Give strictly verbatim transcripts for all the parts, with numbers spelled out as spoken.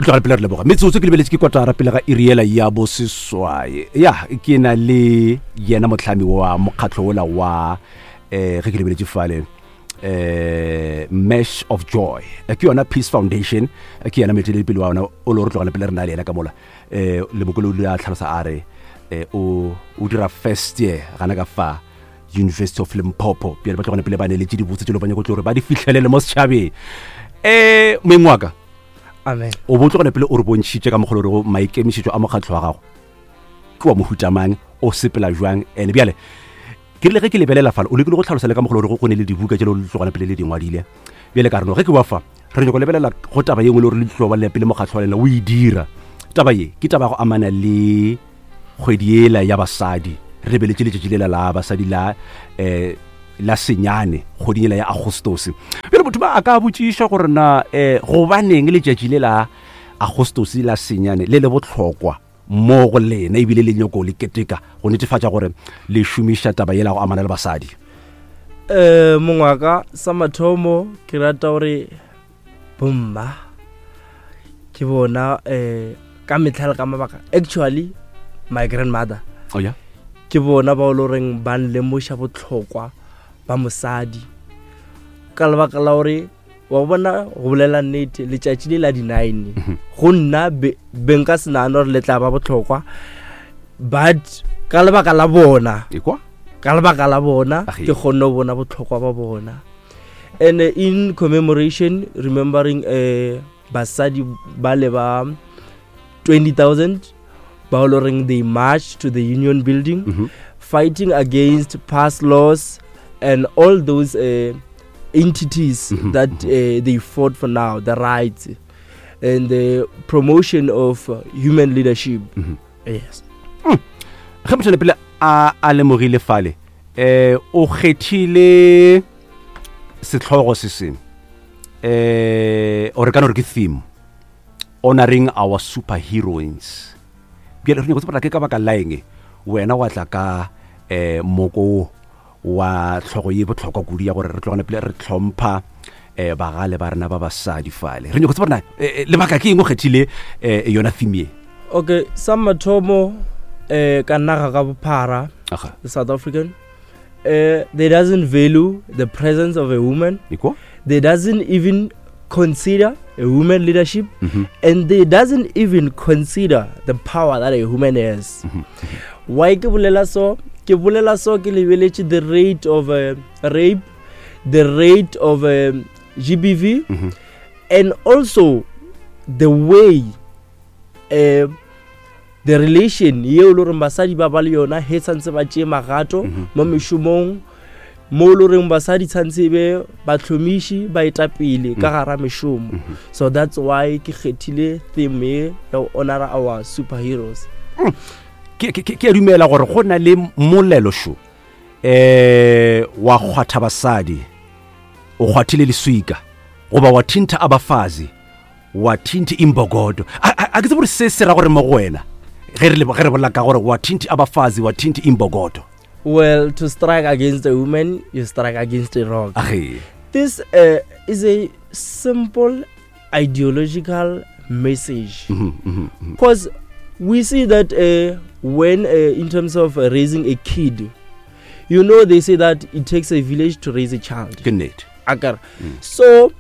Re tlogela pele re leboga metsotso ke lebeletše ke kotara pele ga iri yela ya boseswai. Ya ke na le yena motlhami wa mokgatlho ola wa um ge ke lebeletše fale eh Mesh of Joy, Eh, ke yona Peace Foundation, eh, ke yena moeteledipele wa yona o le re tlogela pele re na le yena ka mola. um lebokolo o ile a tlhalosa a re eh, o o dira first year gana ka fa University of Limpopo. Bjale ba tlogane pele ba neletše dibotse tse le ba nyako tlo gore ba di fitlhelele mo setšhabeng. um moeng wa ka, amen. O bo tlogane pele o re bontšhitše ka mokgwa o rego maikemišetšo a mokgatlho wa gago ke wa mohutamang, o sepela jwang. And bjale ke rile ge ke lebelela fale o lekile go tlhalosa le ka mokgwa o rego go ne le dibuka tše le tlogana pele le di ngwadile. Bjale ka re no ge ke wa fa re nyako lebelela go taba ye nngwe le gore le tlo ba le pele mokgatlho wa lena o e dira. Taba ye ke taba ya go amana le kgwedi ela ya basadi. Re lebeletše letšatši lela la basadi la um la senyane kgweding ela ya Agostose. Bjale motho ba a ka botšiša gore na um gobaneng letšatši le la Agostose la senyane le le bohlokwa mo go lena, ebile le nyako le keteka go netefatša gore le šomiša taba yela go amana le basadi? um Mongwaka, sa mathomo ke rata gore bomma ke bona um ka metlha le ka mabaka, actually my grandmother, oh yeah ke bona ba o le goreng ba nlemoša botlhokwa ba mosadi, ka lebaka la gore wa bona, go bolela nnete, letšatši le la di-nine go nna be be nka se nagane gore le tla ba botlhokwa, but ka lebaka la bona, ekwa ka lebaka la bona, Age. ke kgonne go bona botlhokwa ba bona. And uh, in commemoration, remembering uh, basadi ba le ba twenty thousand ba o le goreng they marched to the Union Building, Mhm. fighting against past laws and all those uh, entities Mhm, that uh, they fought for, now the rights and the promotion of uh, human leadership. Mhm. Yes. Ge motho pele a a lemogile fale um o kgethile setlhogo se sengwe um ore ka no re ke theme, honoring our superheroines. Bjale re nyako tseba ke ka baka la eng wena wa tla ka um moko wo wa tlhogo ye botlhokwa kudu ya gore re tlogane pele re tlhompha um bagale ba rena ba basadi fale. Re nyako tseba gore na eh, eh, lebaka ke eng o kgethile um yona theme ye? Okay, sa mathomo, eh ka naga ka bophara, Aga. the South African, uh, they doesn't value the presence of a woman. Ekwa. They doesn't even consider a woman leadership, Mhm. and they doesn't even consider the power that a woman has. Why ke bolela so? Ke bolela so ke lebeletše the rate of uh, rape, the rate of um, G B V, Mhm. and also the way uh, the relation yeo e le goreng basadi ba ba le yona he tshwanetse ba tšee magato Mhm. mo mešomong, mo e le goreng basadi tshwanetse e be batlhomiši, baetapele ka gara mešomo. So that's why ke kgethile theme ye ya go honora our superheroes. ke ke- ke a dumela gore go na le molelo šo eh wa kgwatha basadi o kgwathile leswika, goba wa thintha abafazi wa thintha imbokodo. A a- a ke tsebe gore se se ra gore mo go wena ge re le- ge re bolela ka gore wa thintha abafazi wa thintha imbokodo. Well, to strike against a woman, you strike against a rock. Age. This uh, is a simple ideological message, Mhm, mhm, mhm. because we see that uh, when uh, in terms of uh, raising a kid, you know they say that it takes a village to raise a child. Ke nnete. Akere so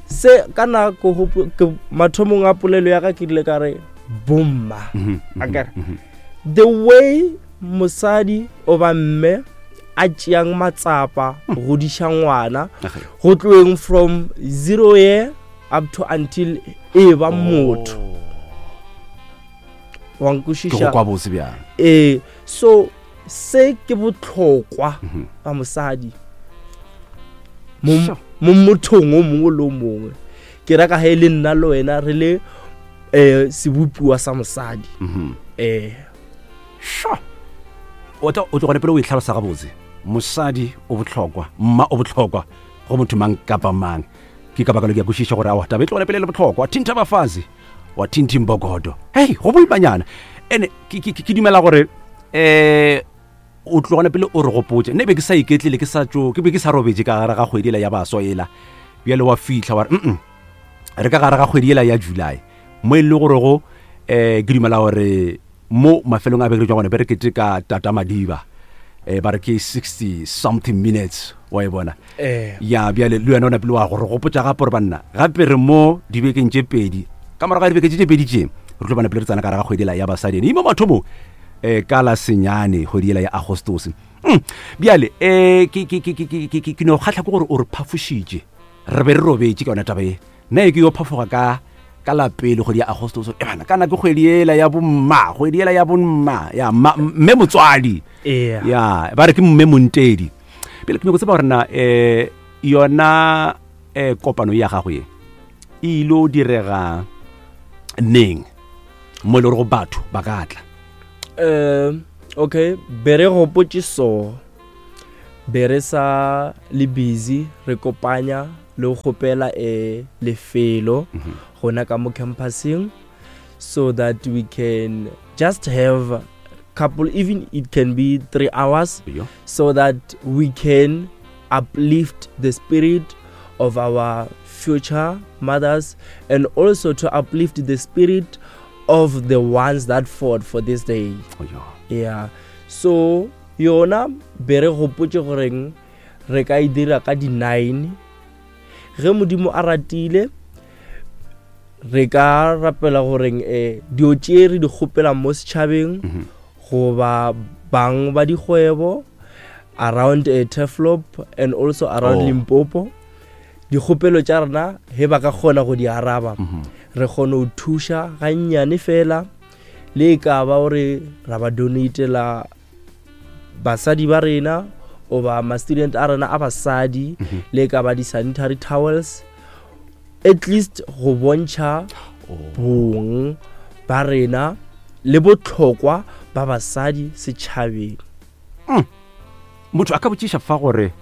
se ka nako hopo- ke mathomong a polelo ya ka ke rile ka re bomma, Mhm, mhm, akere mhm. the way mosadi oba mme a tšeang matsapa go godiša ngwana, Age. go tloeng from zero year up to until e ba motho wa Ke go nkwešiša? kwa botse bjang. Ee, so se ke botlhokwa Mhm. ba mosadi mo Sure. mo mothong o mongwe le o mongwe. Ke raka ge e le nna le wena re le um sebopiwa sa mosadi. Mhm. um Sure. O tla o tlogane pele o e tlhalosa gabotse, mosadi o botlhokwa, mma o botlhokwa go motho mang kapa mang. Ke ka baka lo ke a kwešiša gore awa taba e tlogane pele le botlhokwa, thintha bafazi wa thinthe mbokodo, hei, go boimanyana. Ene ke- ke ke- ke dumela gore um o tlogane pele o re gopotse nne be ke sa iketlile, ke sa tso ke be ke sa robetse ka gare ga kgwedi ela ya baswa ela. Bjale wa fitlha wa re mm re ka gare ga kgwedi ela ya July. Mo e le gore go um ke dumela gore mo mafelong a beke jwa gone be re keteka Tata Madiba, um ba re ke sixty something minutes, wa e bona. Eh. Ya bjale le wena o napile wa gore gopotša gape gore banna gape re mo dibekeng tše pedi, ka morago ga dibeke tše tše pedi tše re tlo bana pele re tsena ka gare ga kgwedi ela ya basadi, ene imo mathomong um ka la senyane kgwedi ela ya Agostose. Mm, bjale um ke ke ke ke ke ke ke no kgatlha ke gore o re phafošitše, re be re robetše ka yona taba e. Nna e ke yo phafoga ka ka la pele kgwedi ya Agostose, e bana kana ke kgwedi ela ya bomma, kgwedi ela ya bomma ya mma, mme motswadi. Yeah. Ya ba re ke mme montedi. Pele ke nyako tseba gore na um yona um kopano ya gago ye e ile o direga neng mo e le gore go batho ba ka tla? Um okay, be re gopotše so be re sa le busy re kopanya le go kgopela um lefelo gona ka mo campuseng, so that we can just have couple, even it can be three hours, Yo. so that we can uplift the spirit of our future mothers and also to uplift the spirit of the ones that fought for this day. Oh, yo. Yeah. So yona be re gopotše goreng re ka e dira ka di nine, ge Modimo a ratile re ka rapela goreng eh dio tše re di kgopelang mo setšhabeng Mhm. goba bang ba dikgwebo around uh, Turfloop and also around Oh. Limpopo, dikgopelo tša rena he ba ka kgona go di araba, Mhm. re kgone go thuša gannyane fela, le e ka ba gore ra ba donatela basadi ba rena oba ma-student a rena a basadi, Mhm. le e ka ba di-sanitary towels, at least go bontšha Oh. bong ba rena le botlhokwa ba basadi setšhabeng. Motho a ka botšiša fa gore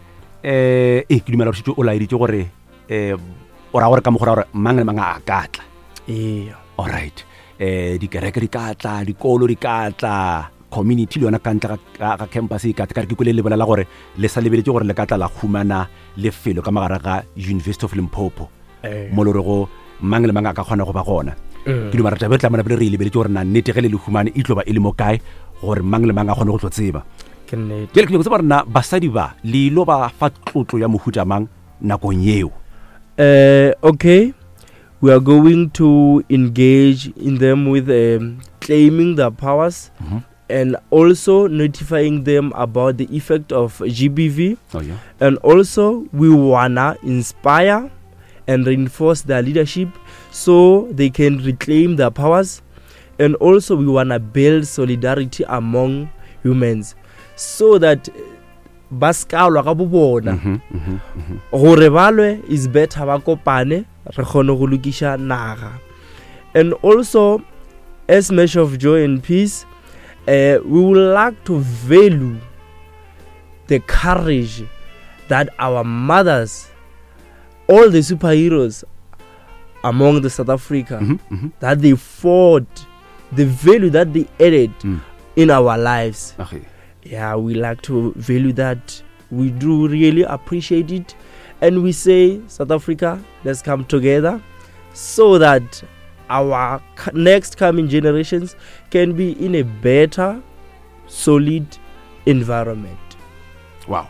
um ee ke dumela gore šetše o laeditše gore um o raya gore ka mokgwa gore mang le mang a ka tla. Ee. Alright, um dikereke di ka tla, dikolo di ka tla, community le yona ka ntle ga- ga ga campus e ka tla. Ka re ke kwele le bolela gore le sa lebeletše gore le ka tla la humana lefelo ka mogare ga University of Limpopo Eh. mo le gorego mang le mang a ka kgona go ba gona. Mm. Ke dumela taba e tla mona pele re e lebeletse gore na nnete ge le le humane e tlo ba e le mo kae gore mang le mang a kgone go tlo tseba. Ke nnete. Bjale ke nyako tseba gore na basadi ba le ilo ba fa tlotlo ya mohuta mang nakong yeo? Uh, okay, we are going to engage in them with um, claiming their powers Mhm. and also notifying them about the effect of G B V. Oh, yeah. And also we wanna inspire and reinforce their leadership so they can reclaim their powers. And also we wanna build solidarity among humans so that ba ska lwa ka bo bona. Mhm, mhm, mhm. Gore ba lwe is better ba kopane re kgone go lokiša naga. And also as Mesh of Joy and Peace, uh, we would like to value the courage that our mothers, all the superheroes among the South Africa, Mhm, mhm. that they fought, the value that they added Mm. in our lives. Okay. Yeah, we like to value that. We do really appreciate it. And we say, South Africa, let's come together so that our c-, next coming generations can be in a better, solid environment. Wow.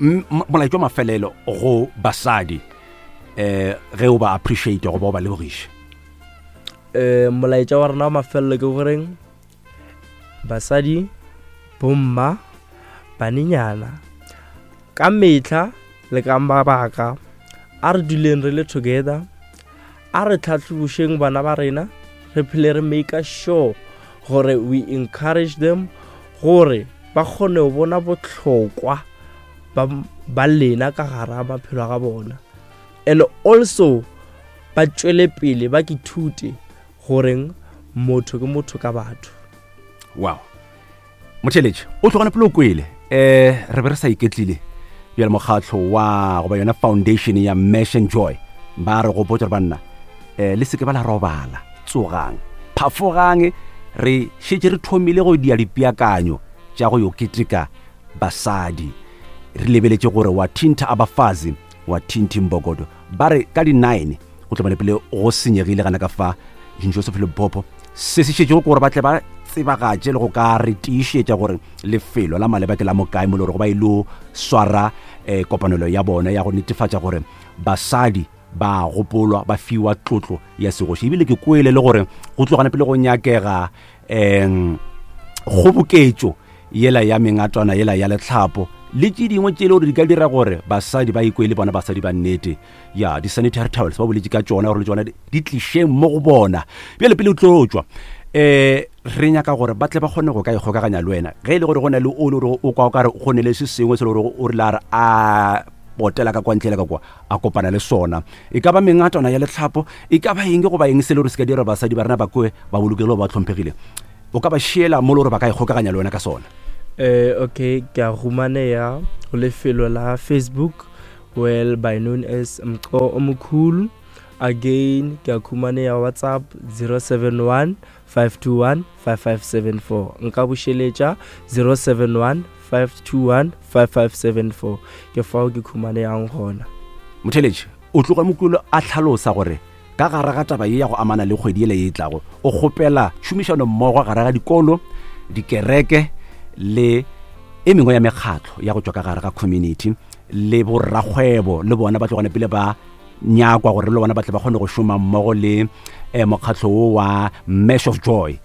M-, m-, molaetša wa mafelelo go basadi eh ge o ba appreciate goba o ba lebogiše? Eh, molaetša wa rena wa mafelelo ke goreng basadi, bomma, banenyana, ka mehla le ka mabaka a re duleng re le together, a re tlhatlhobošeng bana ba rena, re phele re make sure gore we encourage them gore ba kgone go bona bohlokwa ba, ba lena ka gare ga maphelo a ga bona, and also ba tšwele pele ba ke ithute goreng motho ke motho ka batho. Wow. Motheletši o tlogane pele o kwele eh re be re sa iketlile bjale mokgatlo wa goba yona foundation ya Mesh and Joy ba re gopotša gore banna eh le seke ba la robala, tsogang, phafogang, re šetše re thomile go dia dipeakanyo tša go yo keteka basadi. Re lebeletše gore wa thintha abafazi wa thinthi mbokodo, ba re ka di nine go tlo bane pele go senyegile gana ka fa Joseph Limpopo. Se se šetšego ke gore ba tle ba tsebagatše le go ka re tiišetša gore lefelo la maleba ke la mokae mo le gore ba ilo swara um kopanelo ya bona ya go netefatša gore basadi ba gopolwa ba fiwa tlotlo ya segoši. Ebile ke kwele le gore go tlogana pele go nyakega um kgoboketšo yela ya mengatwana yela ya letlhapo le tše dingwe tše le gore di ka dira gore basadi ba ikwe le bona basadi ba nnete. Ya di-sanitary towels ba boletše ka tšona gore le tšona di tlišeng mo go bona. Bjale pele o tlo tšwa um re nyaka gore ba tle ba kgone go ka ikgokaganya le wena ge e le gore go na le o le gore o kwa o kare go ne le se sengwe se le gore o rile a re a potela ka kwa ntle le ka kwa a kopana le sona, e ka ba mengatwana ya letlhapo, e ka ba eng goba eng se le gore se ka dira basadi ba rena ba kwe ba bolokegile ba hlomphegile, o ka ba šiela mo le gore ba ka ikgokaganya le wena ka sona. Eh, okay, ke a humaneya go lefelo la Facebook, well by known as Mqo Omukhulu. Again, ke a humaneya WhatsApp zero seven one five two one five five seven four. Nka bušeletša zero seven one five two one five five seven four. Ke fao ke humaneyang gona. Motheletši o tloga Mokulu a hlalosa gore ka gare ga taba ye ya go amana le kgwedi ele ye e tlago, o kgopela tšhomišano mmogo gare ga dikolo, dikereke le e mengwe ya mekgatlo ya go tšwa ka gare ga community le borrakgwebo le bona ba tlogane pele ba nyakwa gore le bona ba tle ba kgone go šoma mmogo le eh, mokgatlo wo wa Mesh of Joy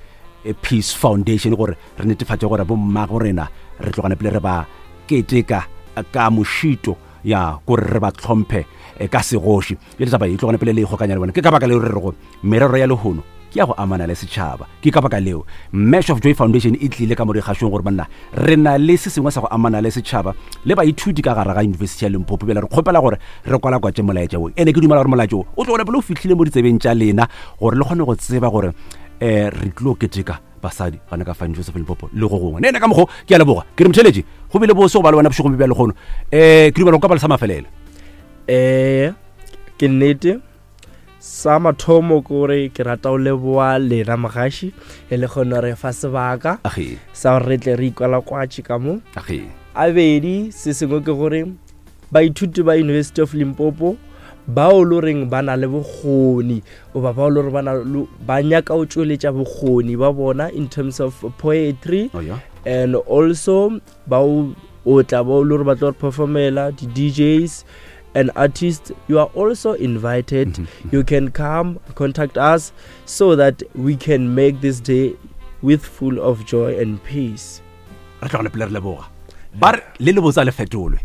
Peace Foundation gore re netefatše gore bommago rena re tlogane pele re ba keteka ka mošito ya gore re ba tlhomphe ka segoši. Bjale taba e tlogane pele le ikgokanya le bona. Ke ka baka leo re rego merero ya lehono ke ya go amana le setšhaba. Ke ka baka leo Mesh of Joy Foundation e tlile ka moregašong gore banna re na le se sengwe sa go amana le setšhaba le baithuti ka gare ga University ya Limpopo. Bjale re kgopela gore re kwalakwatše molaetša wo, ene ke dumela gore molaetša wo o tlogane pele o fihlile mo ditsebeng tša lena gore le kgone go tseba gore um re tlo keteka basadi gana ka fane Joseph Limpopo le go gongwe. Nene ka mokgo ke a leboga, ke re motheletši go bile bose go ba le wena bošegong bja lekgono. Um ke dumela go ka ba le sa mafelelo. Eh, ke nnete sa mathomo ke gore ke rata go leboa lena mogaši e le kgone re fa sebaka sa gore re tle re ikwalakwatše ka mo. Abedi se sengwe ke gore baithuti ba University of Limpopo bao le reng ba na le bokgoni goba bao le gore ba na ba nyaka go tšweletša bokgoni ba bona in terms of poetry, oh, yeah. and also bao o tla bao le gore ba tlo re performela di-D Js and artists, you are also invited. Mm-hmm. You can come contact us so that we can make this day with full of joy and peace. Re tlogane pele re leboga ba re le le botsa le fetolwe.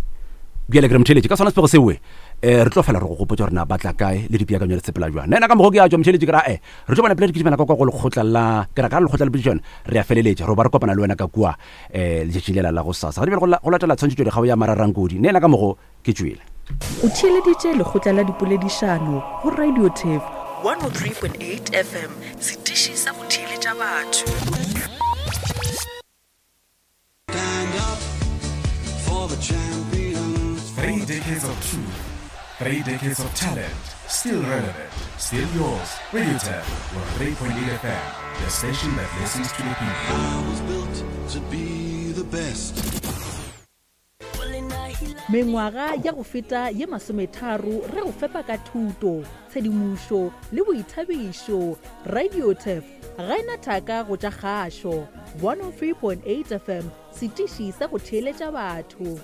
Bjale ke re motheletši ka sona sepego sewe eh re tlo fela re go gopotša gore na batla kae le dipeakanyo le sepela jwang. Nna ka mogo ke a tšwa motheletši ke ra eh re tlo bona pele re kitimela ka kwa go lekgotla la ke ra ka lekgotla le pedišano re a feleletša re ba re kopana le wena ka kua eh letšatši lela la go sasa. Ga di bjale go latela tshwantšhetšo dikgao ya Mararankodi. Nna ka mogo ke tšwele. O theeleditše lekgotla la dipoledišano go Radio Turf one oh three point eight F M, setiši sa go theeletša batho. Stand up for the champions. Three decades of truth, three decades of talent, still relevant, still yours. Radio Turf one oh three point eight F M, the station that listens to the people. I was built to be the best. Mengwaga ya go feta ye masometharo re go fepa ka thuto, tshedimošo le boithabišo. Radio Turf ga ena thaka go tša kgašo. one oh three point eight F M, setiši sa go theeletša batho.